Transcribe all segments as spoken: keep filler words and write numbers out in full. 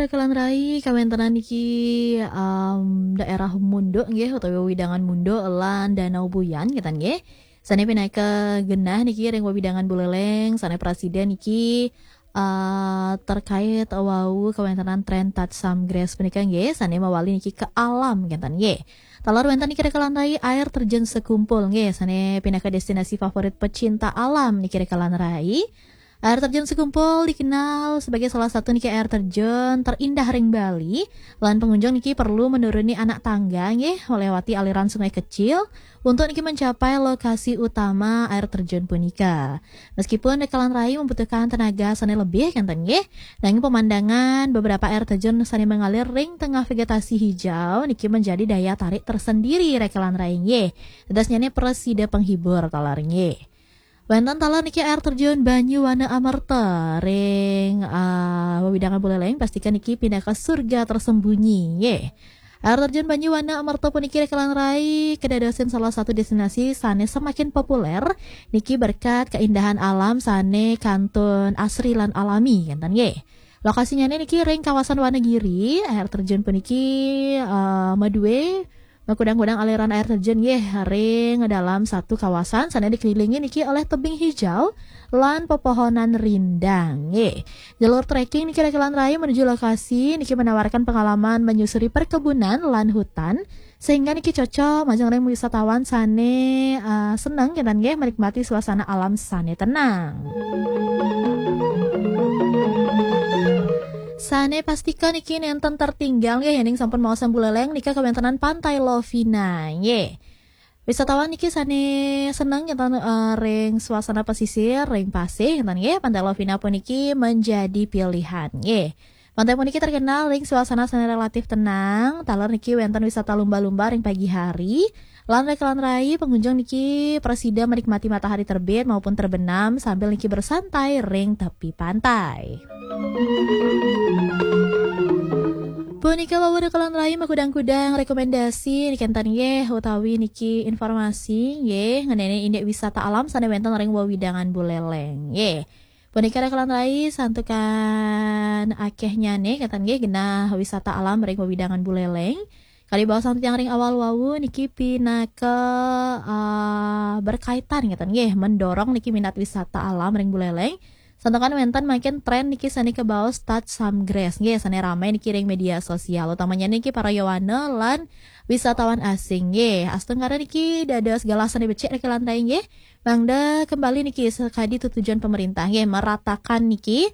Kalan rai, kawéntenan niki, em, daerah Munduk nggih, utawi wewidangan Munduk lan Danau Buyan, ngéten nggih. Sané pinaka genah niki ring wewidangan Buleleng, sané prasida niki, eh, terkait wau kawéntenan tren Tatsam Grass punika nggih, sané mawali niki ke alam, ngéten nggih. Taler wénten niki Rekalan Rai, air terjun Sekumpul nggih, sané pinaka destinasi favorit pecinta alam niki Rekalan Rai. Air terjun Sekumpul dikenal sebagai salah satu niki air terjun terindah ring Bali, lan pengunjung niki perlu menuruni anak tangga nggih, melewati aliran sungai kecil untuk niki mencapai lokasi utama air terjun punika. Meskipun Rekalan Rai membutuhkan tenaga sané lebih, ngéten nggih, nanging pemandangan beberapa air terjun sané mengalir ring tengah vegetasi hijau niki menjadi daya tarik tersendiri Rekalan Rai nggih. Dadosnyané prasida penghibur taler nggih. Wénten taler niki air terjun Banyu Wana Amerta ring, ah, wewidangan Buleleng, pastikan niki pinaka surga tersembunyi nggih. Air terjun Banyu Wana Amerta puniki Rekalan Rai kedadosin salah satu destinasi sané semakin populer niki berkat keindahan alam sané kantun asri lan alami, ngéten nggih. Lokasinyané niki ring kawasan Wanagiri, air terjun puniki, eh, madué makudang-kudang aliran air terjun nggih ring dalam satu kawasan sané dikelilingi niki oleh tebing hijau lan pepohonan rindang nggih. Jalur trekking niki Rekalan Rai menuju lokasi niki menawarkan pengalaman menyusuri perkebunan lan hutan, sehingga niki cocok majeng ring wisatawan sané, eh, seneng ngéten nggih menikmati suasana alam sané tenang. Sané pastika niki nénten tertinggal nggih, yéning sampun maos Buleleng nika kawéntenan Pantai Lovina nggih. Wisatawan niki sané seneng ngénten, eh, ring suasana pesisir, ring pasih ngénten nggih, Pantai Lovina puniki menjadi pilihan nggih. Pantai puniki terkenal ring suasana sané relatif tenang, taler niki wénten wisata lumba-lumba ring pagi hari, lan Rekalan Rai pengunjung niki prasida menikmati matahari terbit maupun terbenam sambil niki bersantai ring tepi pantai. Punika wau Rekalan Rai makudang-kudang rekomendasi niki ngénten nggih, utawi niki informasi nggih ngenani indik wisata alam sané wénten ring wewidangan Buleleng nggih. Punika Rekalan Rai santukan akéhnyané ngénten nggih genah wisata alam ring wewidangan Buleleng. Kadi baos titiang ring awal wau niki pinaka, eh, berkaitan ngénten nggih, mendorong niki minat wisata alam ring Buleleng. Santukan wénten mangkin tren niki sané kabaos Tatsam Grass nggih, sané ramai niki ring media sosial, utamanya niki para yowana lan wisatawan asing nggih. Astungkara niki dados galah sané becik Rekalan Rai nggih. Mangda kembali niki sakadi tetujon pemerintah nggih, meratakan niki,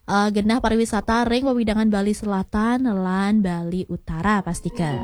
eh, genah pariwisata ring wewidangan Bali Selatan lan Bali Utara pastika.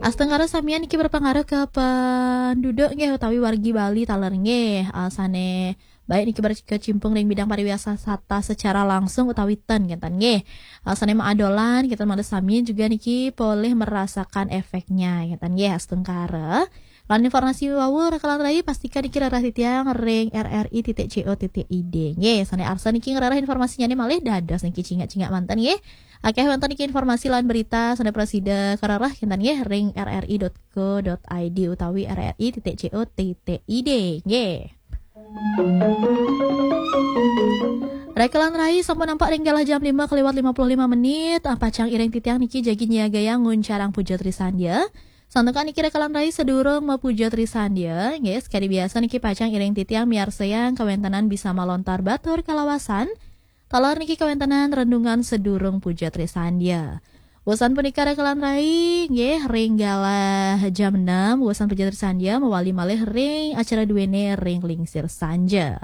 Astungkara samian niki berpengaruh ke penduduk nggih utawi wargi Bali taler nggih, eh, sané baik niki berkecimpung ring bidang pariwisata secara langsung utawi ten ngénten nggih. Eh, sané maadolan kita mangda sami juga niki polih merasakan efeknya ngénten nggih astungkara. Lan informasi wau Rekalan Rai pastika niki rereh titiang ring R R I titik C O titik I D. Nggih, sané arsa niki ngrereh informasinyané malih dados niki cingak-cingak manten nggih. Akéh wénten niki informasi lan berita sané prasida karereh ngénten nggih ring R R I dot co dot I D utawi R R I titik C O titik I D. Nggih. Rekalan Rai sampun nampak ring galah jam lima kaliwat lima puluh lima menit. Ah, pacang iring titiang niki jagi nyiagayang nguncarang puja trisandya. Santukan niki Rekalan Rai sadurung mapuja trisandya, nggih, sakadi biasa niki pacang iring titiang miarsayang kawéntenan Bisma Lontar Batur kalawasan. Taler niki kawéntenan renungan sadurung puja trisandya. Wusan punika Rekalan Rai, nggih, ring galah jam enam, wusan puja trisandya mawali malih ring acara duéné ring lingsir sanja.